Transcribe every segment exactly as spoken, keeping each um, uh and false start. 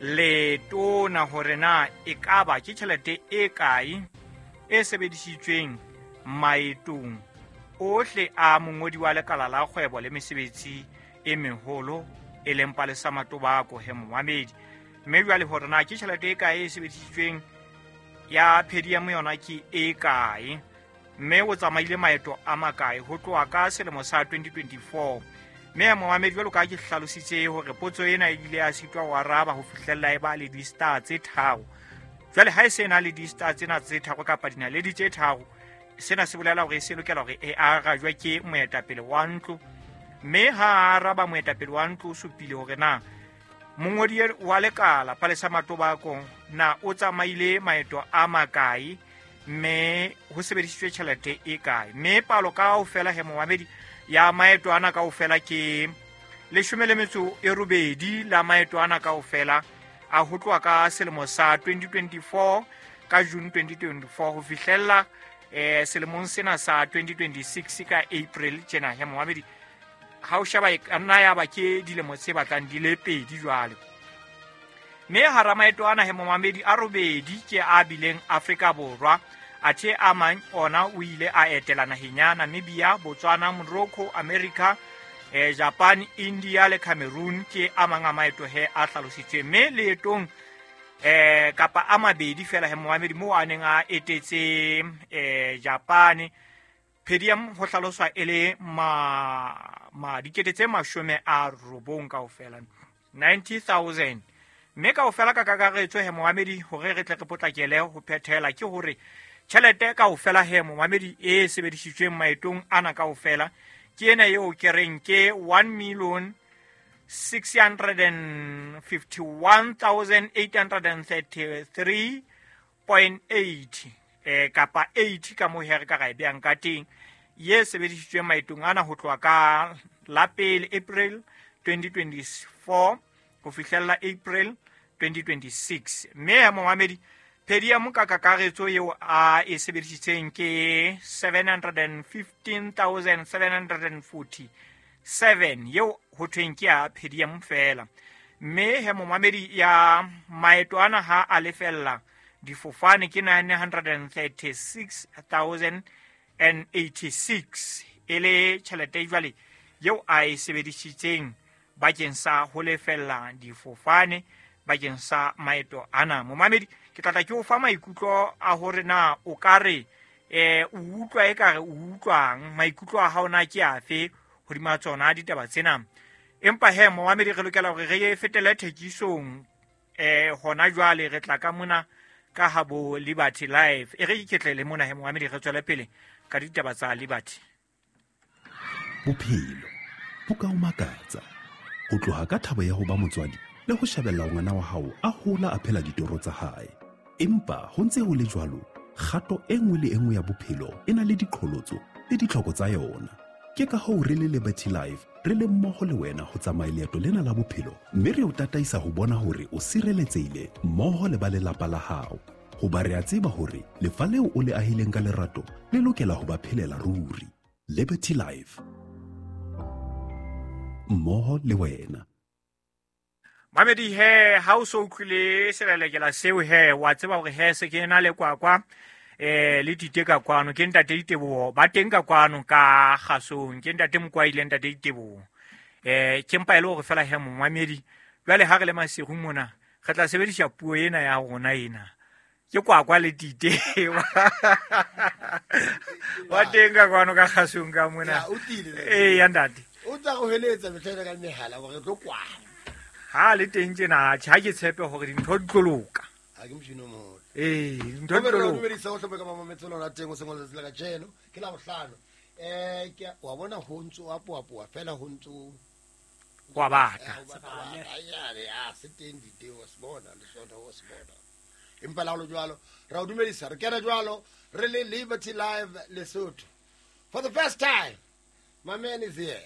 Letona hore na ekaba ke tjhelete e kae e sebedisitsweng maetong ohle a mongodi wa lekala la kgwebo le mesebetsi e meholo e leng Palesa Matobako he momamedi. Mme jwale hore na ke tjhelete e kae e sebedisitsweng ya per diem yona ke e kae, mme o tsamaile maeto a makae ho tloha ka selemo sa twenty twenty-four. Mme momamedi, jwalo ka ha ke hlalositse hore potso ena e ile ya sitwa ho araba ho fihlella e ba le di-star tse tharo. Jwale ha e se na le di-star tsena tse tharo kapa dinaledi tse tharo, sena se bolela hore e se lokela hore e arajwe ke moetapele wa ntlo. Mme ha a araba moetapele wa ntlo o supile hore na mongodi wa lekala Palesa Matobako na o tsamaile maeto a makae, mme ho sebedisitswe tjhelete e kae. Mme palo kaofela he momamedi ya maeto ana kaofela ke leshome le metso e robedi la maeto ana kaofela a ho tloha ka selemo sa twenty twenty-four ka June twenty twenty-four ho fihlella eh selemong sena sa twenty twenty-six ka April tjena he momamedi. Ha o sheba e ka nna ya ba ke dilemo tse batlang di le pedi jwale. Mme hara maeto ana he momamedi a robedi ke a bileng Afrika Borwa, athe a mang ona o ile a etela naheng ya Namibia, Botswana, Morocco, America, eh, Japan, India le Cameroon ke a mang a maeto he a hlalositsweng. Mme leetong eh kapa a mabedi fela he momamedi moo a neng a etetse eh Japan, per diem ho hlaloswa e le ma, ma dikete tse mashome a robong kaofela, ninety thousand. Mme kaofela ka kakaretso he momamedi, hore re tle re potlakele ho phethela, ke hore tjhelete kaofela he momamedi e sebedisitsweng maetong ana kaofela ke ena eo ke reng ke one million six hundred and fifty-one thousand eight hundred and thirty-three point eight eh kapa eight ka moo he re ka ra e behang ka teng, ye sebedisitsweng maetong ana ho tloha ka la pele April twenty twenty-four ho fihlella April twenty twenty-six. Mme ya momamedi per diem ka kakaretso eo a e sebedisitseng ke seven hundred and fifteen thousand seven hundred and forty-seven eo ho thweng ke ya per diem fela. Mme he momamedi ya maeto ana ha a lefella difofane ke nine hundred and thirty-six thousand and eighty-six e le tjhelete jwale eo a e sebedisitseng bakeng sa ho lefella difofane bakeng sa maeto ana. Momamedi, ke tla tla ke o fa maikutlo a hore na o ka re eh o utlwa ekare o utlwang, maikutlo a hao na ke afe hodima tsona ditaba tsena. Empa he momamedi, re lokela hore re fetele thekisong eh hona jwale re tla ka mona ka habo Liberty Life. E re iketlele mona he momamedi, re tswele pele ka ditaba tsa Liberty. Bophelo bo ka o makatsa ho tloha ka thabo ya ho ba motswadi le ho shebella ngwana wa hao a hola a phela ditoro tsa hae. Empa ho ntse ho le jwalo, kgato e nngwe le e nngwe ya bophelo e na le diqholotso le ditlhoko tsa yona. Ke ka hoo re le Liberty Life re le mmoho le wena ho tsamaya leeto lena la bophelo, mme re o tataisa ho bona hore o sireletsehile mmoho le ba lelapa la hao. Hoba re a tseba hore lefa leo o le ahileng ka lerato le lokela ho ba phelela ruri. Liberty Life, mmoho le wena. Mamedi he, ha o so utlwile selelekela seo he, wa tseba hore he se ke na le kwakwa eh le Tite ka kwano, ke ntate Diteboho ba teng ka kwano ka kgasong, ke ntate Mokwai le ntate Diteboho. Eh ke mpa e le hore fela he momamedi, jwale ha re le masiru mona re tla sebedisa puo ena ya rona ena, ke kwakwa le Tite ba teng ka kwano ka kgasong ka mona. Eh ya ntate o tla go heletsa mehleng ka mehala hore re tlo kwana. Ha le teng tjena, ha ke tshepe hore dintho di tlo loka. Ha ke motjhini o moholo. Eh, dintho di tlo loka. Dumedisa ho hlomphe ka mamametse lona teng o sengwe letsatsi la kajeno ke la bohlano. Eh ke wa bona ho ntso a poapoa fela ho ntso wa batla. Ya se teng diteo se bona le sona o se bona. Empa la ho jwalo ra o dumedisa re kena jwalo re le Liberty Live Lesotho. For the first time my man is here.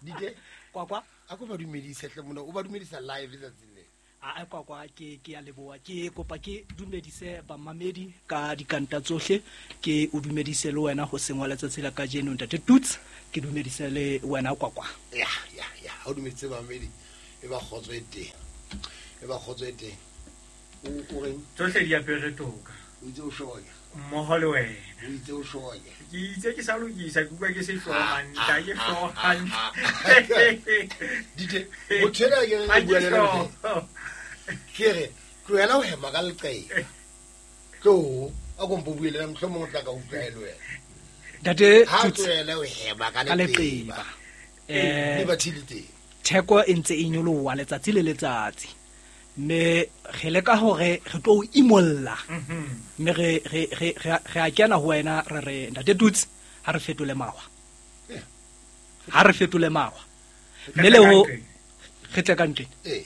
Dite kwakwa a ko ba dumedise hle mona o ba dumedisa live letsatsi le. A kwakwa ke ke a leboha, ke kopa ke dumedise bamamedi ka dikanta tsohle, ke o dumedise le wena ho sengwa letsatsi la kajeno ntate Tuts, ke dumedise le wena kwakwa. Ya ya ya ha o dumedise bamamedi. E ba kgotso e teng. E ba kgotso e teng. O o reng? Tsohle di apere toka. O itse o shoya. Mmoho le wena. O itse o shoya. Ke itse ke sa lokisa, ke utlwa ke se hloha ke hloha. Dite, motho ena ke re bua le yena. Ke re tlohela ho hema ka leqeba. Tlo, a ko mpo bue le nna mohlomong o tla ka utlwa e le wena. Ntate Ha tlohela ho hema ka leqeba. Eh, Liberty le teng. Theko e ntse e nyoloha letsatsi le letsatsi. Mme re leka hore re tlo o imolla. Mme re re re re a kena ho wena re re Ntate Tutsi ha re fetole mawa. Ha re fetole mawa. Mme le ho re tle ka ntle. Eh.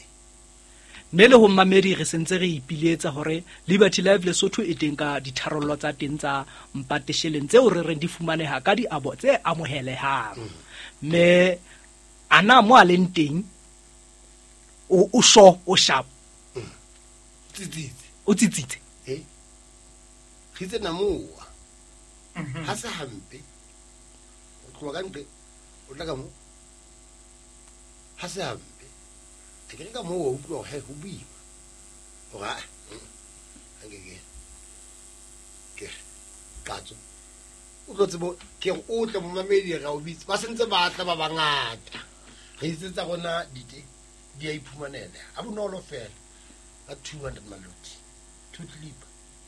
Mme le ho mmamedi re sentse re ipiletsa hore Liberty Life Lesotho e teng ka ditharollo tsa teng tsa mpatesheleng tseo re reng di fumaneha ka diabo tse amohelehang. Mme ana mo a leng teng o o sho o sharp. Tsitsitse. O tsitsitse. Eh. Re itse namoa. Ha se hampe. O tloha ka ntle o tla ka mo. Ha se hampe. A ke re ka moo o utlwa hore ho boima. Hore a nke ke ke katso. O tlo tsebo ke re o tle momamedi re o bitse. Ba sentse ba tla ba bangata. Re itse tsa rona dite di a iphumanela. Ha bonolo fela. Ka two hundred maloti. Two clip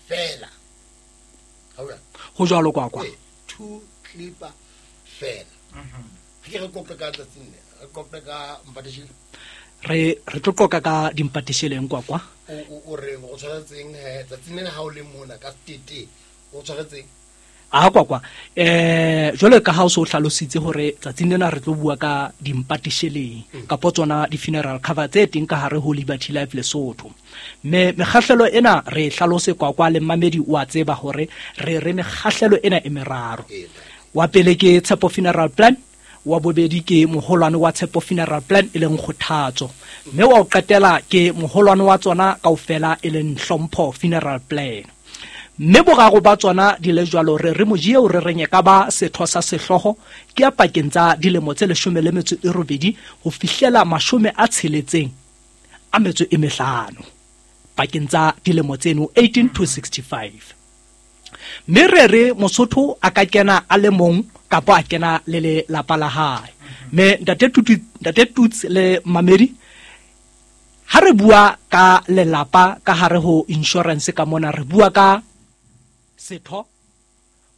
fela. Ha o ya? Ho jwalo kwa kwa. Two clip fela. Mhm. Ke re kope ka tsatsing le. Re kope ka mpateshile. Re re tlo qoqa ka dimpatesheleng kwa kwa. O o o reng o tshwaretseng he tsatsing le ha o le mona ka tete o tshwaretseng. A kwa kwa. Eh jwale ka ha o so hlalositse hore tsatsing lena re tlo bua ka dimpatesheleng kapo tsona di funeral cover tse teng ka hare ho Liberty Life Lesotho. Mme mekgahlelo ena re hlalose kwa kwa le mmamedi o a tseba hore re re mekgahlelo ena e meraro. Wa pele ke Tshepo Funeral Plan, wa bobedi ke moholwane wa Tshepo Funeral Plan e leng Kgothatso, mme wa o qetela ke moholwane wa tsona kaofela e leng Hlompho Funeral Plan. Mme boraro ba tsona di le jwalo re re moji eo re reng e ka ba setho sa sehlooho ke ya pakeng tsa dilemo tse leshome le metso e robedi ho fihlela mashome a tsheletseng a metso e mehlano pakeng tsa dilemo tseno eighteen to sixty-five. Mme re re Mosotho a ka kena a le mong kapa a kena le lelapa la hae. Mme Ntate Tutu, Ntate Tutsi le Mamedi, ha re bua ka lelapa ka hare ho insurance ka mona re bua ka setho,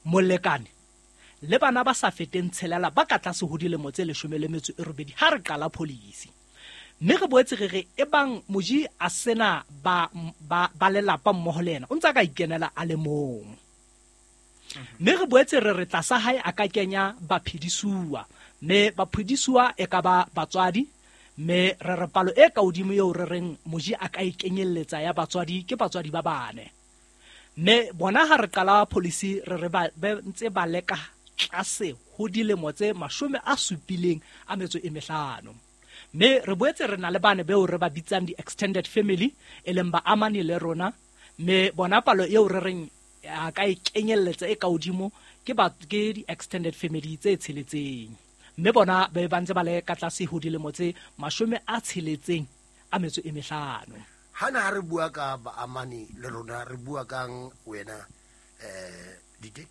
molekane le bana ba sa feteng tshelela ba ka tlase ho dilemo tse leshome le metso e robedi ha re qala policy. Mme re boetse re re ebang moji a sena ba ba ba lelapa mmoho le yena o ntse a ka ikenela a le mong. Mme re boetse re re tlasa hae a ka kenya baphedisuwa, mme baphedisuwa e ka ba batswadi, mme re re palo e ka hodimo eo re reng moji a ka ikenyelletsa ya batswadi ke batswadi ba bane. Mme bona ha re qala policy re re ba ntse ba leka tlase ho dilemo tse mashome a supileng a metso e mehlano. Mme re boetse re na le bane beo re ba bitsang di-extended family e leng ba amane le rona, mme bona palo eo re reng a ka ikenyelletsa e ka hodimo ke ba ke di-extended family tse tsheletseng, mme bona be ba ntse ba le ka tlase ho dilemo tse mashome a tsheletseng a metso e mehlano. Hana ha re bua ka baamani le rona re bua kang wena eh dite?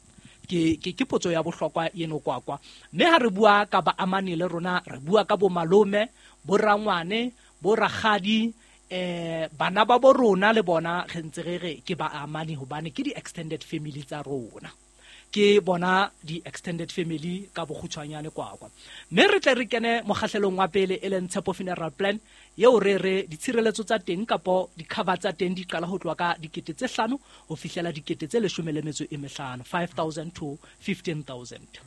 Ke ke ke potso ya bohlokwa eno kwa kwa. Mme ha re bua ka baamani le rona re bua ka bo malome, bo rangwane, bo rakgadi, eh bana ba bo rona le bona re ntse re re ke baamani hobane ke di extended family tsa rona. Ke bona di extended family ka bokgutshwanyane kwa kwa. Mme re tle re kene mokgahlelong wa pele e leng Tshepo Funeral Plan eo re re ditshireletso tsa teng kapo di-cover tsa teng di qala ho tloha ka dikete tse hlano ho fihlela dikete tse leshome le metso e mehlano, five thousand to fifteen thousand.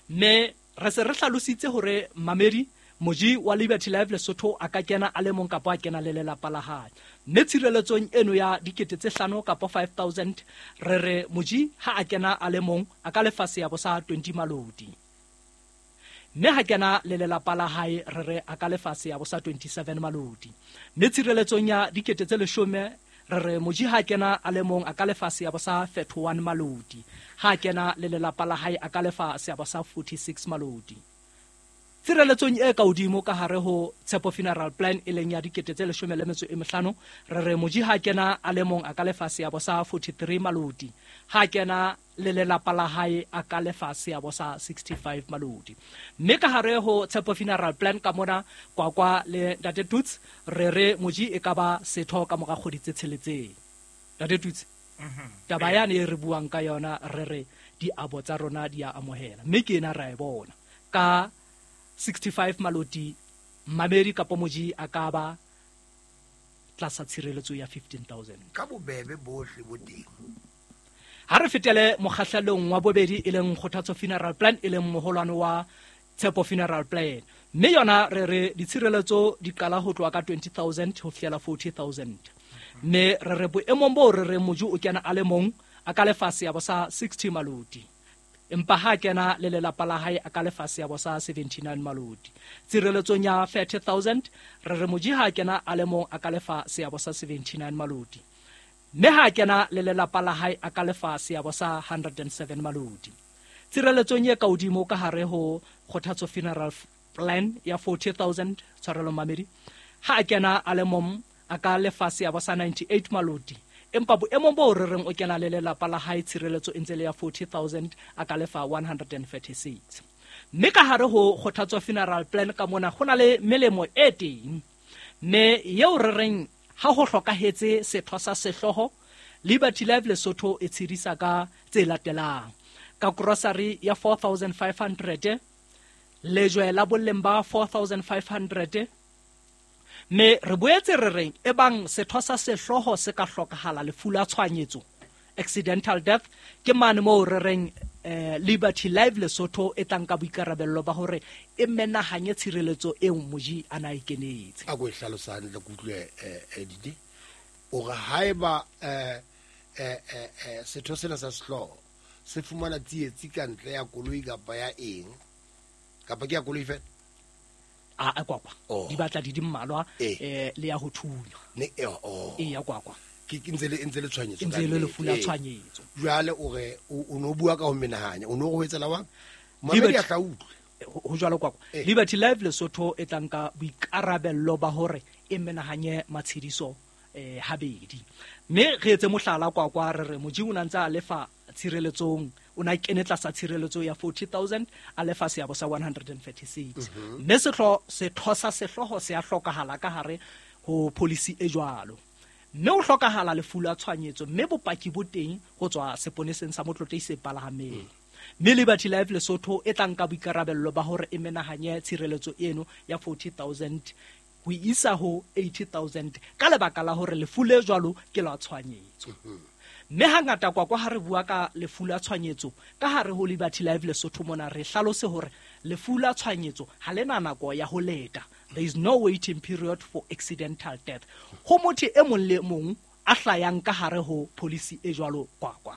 Mme re se re hlalositse hore mamedi moji wa Liberty Life Lesotho a ka kena a le mong kapa a kena le lelapa la hae. Mme tshireletsong eno ya dikete tse hlano kapa five thousand re re moji ha a kena a le mong a ka lefa seabo sa twenty maloti. Mme ha kena le lelapa la hae re re a ka lefa seabo sa twenty-seven maloti. Mme tshireletsong ya dikete tse leshome re re moji ha kena a le mong a ka lefa seabo sa thirty-one maloti. Ha kena le lelapa la hae a ka lefa seabo sa forty-six maloti. Tshireletsong e ka hodimo ka hare ho Tshepo Funeral Plan e leng ya dikete tse leshome le metso e mehlano, re re moji ha kena a le mong a ka lefa seabo sa forty-three malodi, ha kena le lelapa la hae a ka lefa seabo sa sixty-five malodi. Mme ka hare ho Tshepo Funeral Plan ka mona Kwakwa le Ntate Tuts, re re moji e ka ba setho ka mora kgwedi tse tsheletseng. Ntate Tuts, taba yane e re buang ka yona re re diabo tsa rona di a amohela, mme ke ena ra e bona ka sixty-five maloti mamedi kapo moji a ka ba tlasa tshireletso ya fifteen thousand. Ka bobebe bohle bo teng. Ha re fetele mokgahlelong wa bobedi e leng Kgothatso Funeral Plan e leng moholwane wa Tshepo Funeral Plan. Mme yona re re ditshireletso di qala ho tloha ka twenty thousand ho fihlela forty thousand. Mme re re boemong boo re re moji o kena a le mong a ka lefa seabo sa sixty maloti, empa ha kena le lelapa la hae a ka lefa seabo sa seventy-nine maloti. Tshireletsong ya thirty thousand re re moji ha kena a le mong a ka lefa seabo sa seventy-nine maloti, mme ha kena le lelapa la hae a ka lefa seabo sa hundred and seven maloti. Tshireletsong e ka hodimo ka hare ho Kgothatso Funeral Plan ya forty thousand, tshwarelo mamedi, ha kena a le mong a ka lefa seabo sa ninety-eight maloti, empa boemong bo re reng o kena le lelapa la hae tshireletso e ntse le ya forty thousand a ka lefa one hundred and thirty-six. Mme ka hare ho Kgothatso Funeral Plan ka mona ho na le melemo e teng, mme eo re reng ha ho hlokahetse setho sa sehlooho, Liberty Life Lesotho e tshedisa ka tse latelang: ka grocery ya four thousand five hundred, lejwe la boleng ba four thousand five hundred. Mme re boetse re reng ebang setho sa sehlooho se ka hlokahala lefu la tshwanyetso, accidental death, ke mane moo re reng eh, Liberty Life Lesotho e tlang ka boikarabello ba hore e menahanye tshireletso eo moji a na e kenetse. A ko e hlalosa hantle ke utlwe eh Didi. O re haeba eh eh eh setho sena sa sehlooho se fumana tsietsi ka ntle ya koloi kapa ya eng, kapa ke ya koloi fela? A a kwakwa Oh. di batla di di mmalwa Eh. eh le ya ho thunya. Ne eh oh. E ya kwakwa. Ke ke ntse le ntse le tshwanyetso E ntse ka le nnete. lefu la Eh. tshwanyetso. Jwale o re o no bua ka ho menahanya, o no go etsela wa mamedi Liberty a tla utlwe. Ho jwalo kwakwa. Eh. Liberty Life Lesotho e tlang ka boikarabello ba hore e menahanye matshediso eh habedi. Mme re etse mohlala kwakwa re re moji o na ntse a lefa tshireletsong, o na kene tlasa tshireletso ya forty thousand a lefa seabo sa one hundred and thirty-six. Mme setho setho sa sehlooho se a hlokahala ka hare ho policy e jwalo. Mme o hlokahala lefu la tshwanyetso, mme bopaki bo teng ho tswa seponeseng sa Motlotlei se palahameng. Mme Liberty Life Lesotho e tlang ka boikarabello ba hore e menahanye tshireletso eno ya forty thousand ho isa ho eighty thousand ka lebaka la hore lefu le jwalo ke la tshwanyetso. Mme hangata kwakwa ha re bua ka lefu la tshwanyetso ka hare ho Liberty Life Lesotho mona re hlalose hore lefu la tshwanyetso ha le na nako ya ho leta. There is no waiting period for accidental death. Ho motho e mong le mong a hlayang ka hare ho policy e jwalo kwakwa.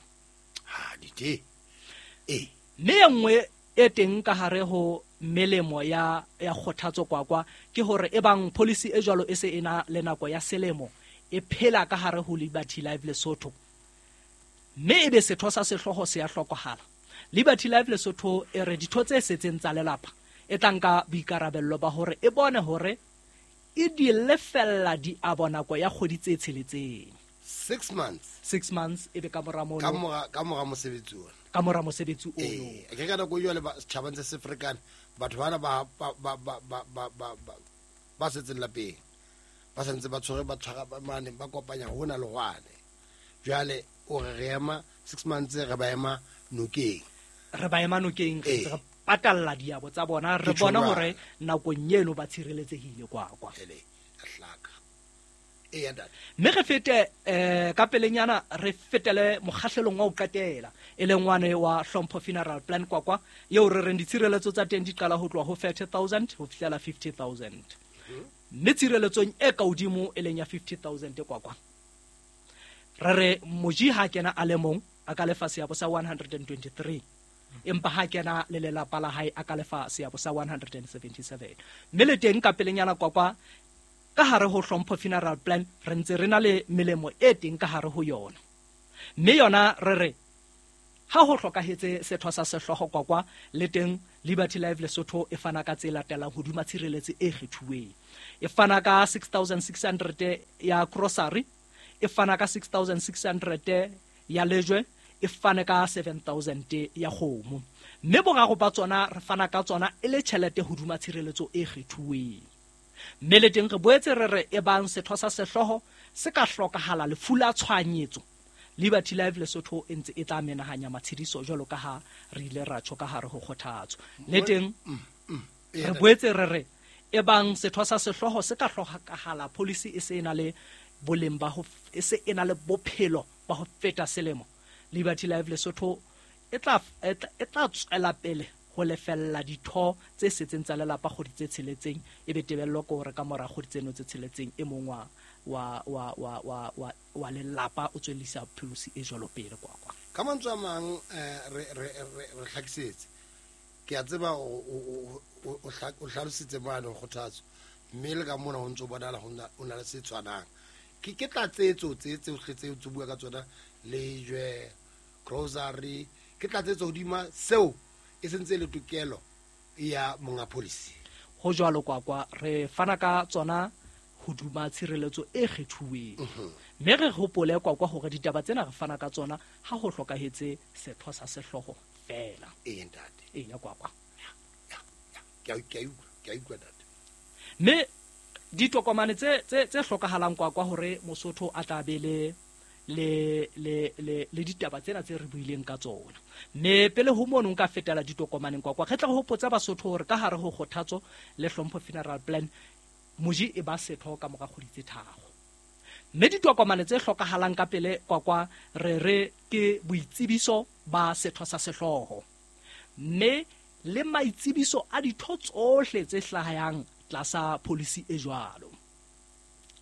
Ha Didi. Eh. Mme e nngwe e teng ka hare ho melemo ya ya kgothatso kwakwa ke hore e bang policy e jwalo e se ena le nako ya selemo e phela ka hare ho Liberty Life Lesotho, mme ebe setho sa sehlooho se ya hlokahala, Liberty Life Lesotho e re ditho tse setseng tsa lelapa e tlang ka boikarabello ba hore e bone hore e di lefella diabo nako ya kgwedi tse tsheletseng. Six months. Six months ebe ka mora mono. Ka mora, ka mora mosebetsi ona. Ka mora mosebetsi ono. Eh, ke ka nako jwale ba setjhaba ntse se ferekane, batho bana ba ba ba ba ba ba ba ba ba setseng lapeng. Ba santse ba tshwere ba tshwara ba mane ba kopanya hona le hwane. Jwale o re re ema six months re ba ema nokeng. Re ba ema nokeng, re Eh. ntse re patalla diabo tsa bona, re Ke bona tjho hore jwalo. nakong eno ba tshireletsehile kwa kwa. Ele, a hlaka. E ya ntate. Mme re fete, eh, ka pelenyana re fetele mokgahlelong wa ho qetela, e leng wane wa Hlompho Funeral Plan kwakwa, eo re reng ditshireletso tsa teng di qala ho tloha ho thirty thousand ho fihlela fifty thousand. Mme tshireletsong e ka hodimo e leng ya fifty thousand kwakwa, re re moji ha kena a le mong a ka lefa seabo sa one hundred and twenty-three, empa ha kena le lelapa la hae a ka lefa seabo sa one hundred and seventy-seven. Mme le teng ka pelenyana kwakwa ka hare ho Hlompho Funeral Plan re ntse re na le melemo e teng ka hare ho yona. Mme yona re re Ha ho hlokahetse setho sa sehlooho kwakwa le teng Liberty Life Lesotho e fana ka tse latelang hodima tshireletso e kgethuweng. E fana ka six thousand six hundred ya grocery, e fana ka six thousand six hundred ya lejwe, e fana ka seven thousand ya kgomo. Mme boraro ba tsona re fana ka tsona e le tjhelete hodima tshireletso e kgethuweng. Mme le teng re boetse re re e bang setho sa sehlooho se ka hlokahala lefu la tshwanyetso, Liberty Life Lesotho e ntse e tla menahanya matshediso jwalo ka ha re ile ra tjho ka hare ho kgothatso. Le teng re boetse re re e bang setho sa sehlooho se ka hlokahala policy e se e na le boleng ba ho e se e na le bophelo ba ho feta selemo, Liberty Life Lesotho e tla e tla tswela pele ho lefella ditho tse setseng tsa lelapa kgwedi tse tsheletseng, e be tebello ke hore ka mora kgwedi tseno tse tsheletseng e mong wa wa wa wa wa wa wa lelapa o tswellisa policy e jwalo pele kwa kwa. Ka mantswe a mang re re re hlakisetse. Ke a tseba o o o hlalositse mane kgothatso mme le ka mona ho ntso bonala ho na le se tshwanang. Ke ke tlatsetso tse tse tse tse bua ka tsona lejwe, grocery, ke tlatsetso hodima seo e sentse le tokelo ya monga policy. Ho jwalo kwa kwa re fana ka tsona hoduma tshireletso e kgethuweng. Mme re hopole kwa kwa hore ditaba tsena re fana ka tsona ha ho hlokahetse setho sa sehlooho fela. Ee ntate. Ee ya kwa kwa. Ya ya ke a ke a ke a utlwa ntate. Mme ditokomane tse tse tse hlokahalang kwa kwa hore Mosotho a tla be le le le le le ditaba tsena tse re buileng ka tsona. Mme pele ho mono nka fetela ditokomaneng kwa kwa re tla hopotsa Basotho hore ka hare ho kgothatso le hlompho funeral plan moji e ba setho ka mora kgwedi tse tharo. Mme ditokomane tse hlokahalang ka pele kwa kwa re re ke boitsebiso ba setho sa sehlooho, mme le maitsebiso a ditho tsohle tse hlahang tlasa policy e jwalo.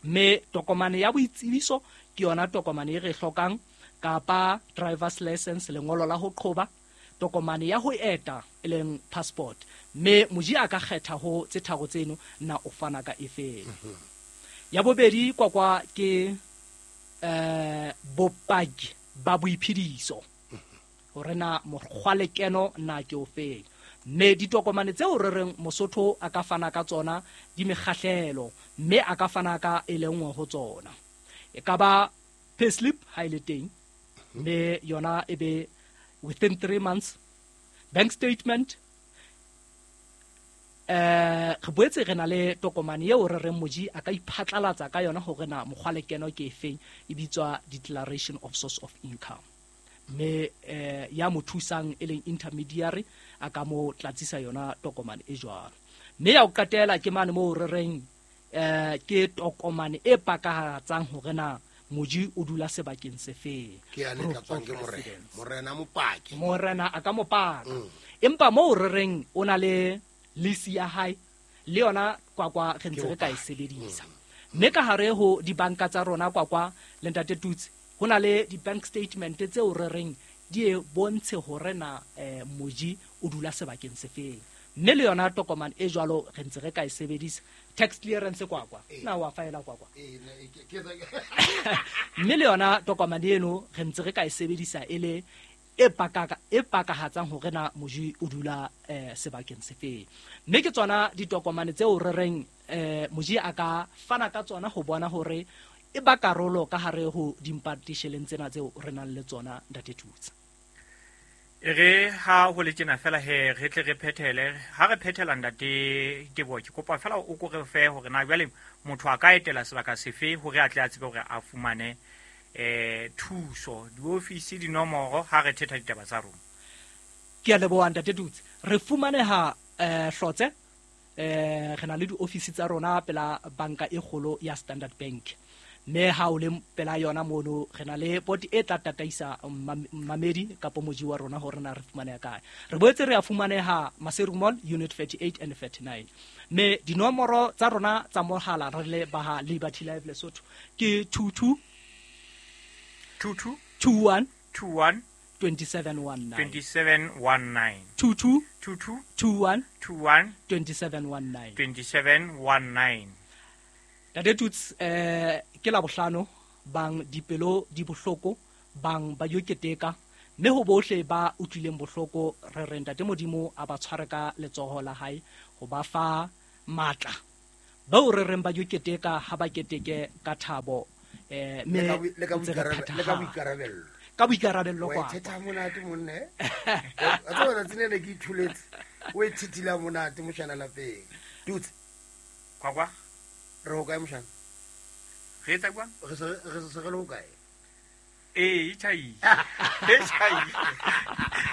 Mme tokomane ya boitsebiso ke yona tokomane e re hlokang, kapa driver's license, lengolo la ho qhoba, tokomane ya ho eta e leng passport. Mme moji a ka kgetha ho tse tharo tseno na o fana ka efeng. Ya bobedi kwa kwa ke eh bopaki ba boiphediso hore na mokgwa lekeno na ke ofeng. Mme ditokomane tseo re reng Mosotho a ka fana ka tsona di mekgahlelo, mme a ka fana ka e le nngwe ho tsona. E ka ba payslip ha e le teng, mme yona e be within three months, bank statement. Eh re boetse re na le tokomane eo re reng moji a ka iphatlalatsa ka yona hore na mokgwa lekeno ke efeng, e bitswa declaration of source of income. Mme eh ya mo thusang e leng intermediary a ka mo tlatsisa yona tokomane e jwalo. Mme ya ho qetela ke mane moo re reng eh ke tokomane e pakahatsang hore na moji o dula sebakeng se feng. Ke ya le tlatswang ke morena. Morena mopaki. Morena a ka mopaka. Empa moo re reng o na le lease ya hae le yona kwa kwa re ntse re ka e sebedisa. Mme ka hare ho dibanka tsa rona kwa kwa le ntate Tutsi ho na le di-bank statement tseo re reng di e bontshe hore na eh, moji o dula sebakeng se feng. Mme le yona tokomane e jwalo re ntse re ka e sebedisa. Tax clearance kwa kwa na wa faela kwa kwa. Mme le yona tokomane eno re ntse re ka e sebedisa e le e pakaka e pakahatsang hore na moji o dula eh, sebakeng se feng. Mme ke tsona ditokomane tseo re reng eh, moji a ka fana ka tsona ho bona hore e ba karolo ka hare ho dimpatisheleng tsena tseo re nang le tsona ntate Tutsi. E re ha ho le tjena fela he re tle re phethele ha re phethela ntate Teboho, ke kopa fela o ko re fe hore na jwale motho a ka etela sebaka sefe hore a tle a tsebe hore a fumane eh thuso, diofisi, dinomoro ha re thetha ditaba tsa rona. Ke a leboha ntate Tutsi. Re fumaneha eh Hlotse, eh re na le diofisi tsa rona pela banka e kgolo ya Standard Bank. Mme ha o le pela yona mono re na le poti e tla tataisa mamedi kapo moji wa rona hore na re fumaneha kae. Re boetse re a fumaneha Maseru Mall unit thirty-eight and thirty-nine. Mme dinomoro tsa rona tsa mohala re le ba Liberty Life Lesotho ke two two two two two one two one twenty-seven one nine twenty-seven one nine two two two two two one two one twenty-seven one nine twenty-seven one nine. Ntate Tutsi, eh ke la bohlano bang dipelo di bohloko bang ba yo keteka, Mme ho bohle ba utlwileng bohloko re re Ntate Modimo a ba tshware ka letsoho la hae ho ba fa matla. Bao re reng ba yo keteka ha ba keteke ka thabo eh Le me ka boi- le ka ntse re boikarabelo- le ka phethahala. boikarabello. Ka boikarabello Wa kwa. ithetha monate monne. Wa tseba tsatsi le ne ke ithuletse. O e thithila monate moshana lapeng. Tutse, Kwakwa re ho kae moshana? re etsa kwang? Re se re se re le ho kae? Ee, e tjhaile. E tjhaile.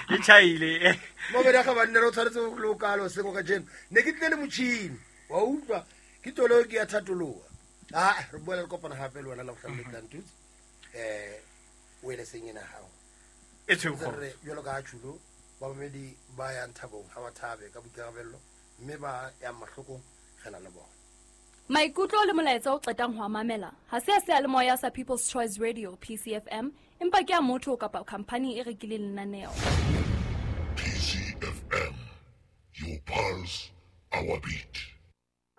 E tjhaile. Mobedi a gabanne re o tshwanetse go le o kalo seng ka jeno. Ne ke tlile le motšhini. Wa utlwa ke tolo ke ya thatoloha. Ah, re boela re kopana hape le wena la bohlano le tlang Tutse. Eh, o ele seng ena hao. E tshweu Ntse kgoro. re jwalo ka ha tjhulo bamamedi ba yang thabong ha ba thabe ka boikarabello mme ba yang mahlokong re na le bona. Maikutlo le molaetsa o qetang ho a mamela ha se a seyalemoya sa People's Choice Radio P C F M, empa ke a motho kapa khamphani e rekileng lenaneo. P C F M, your pulse, our beat.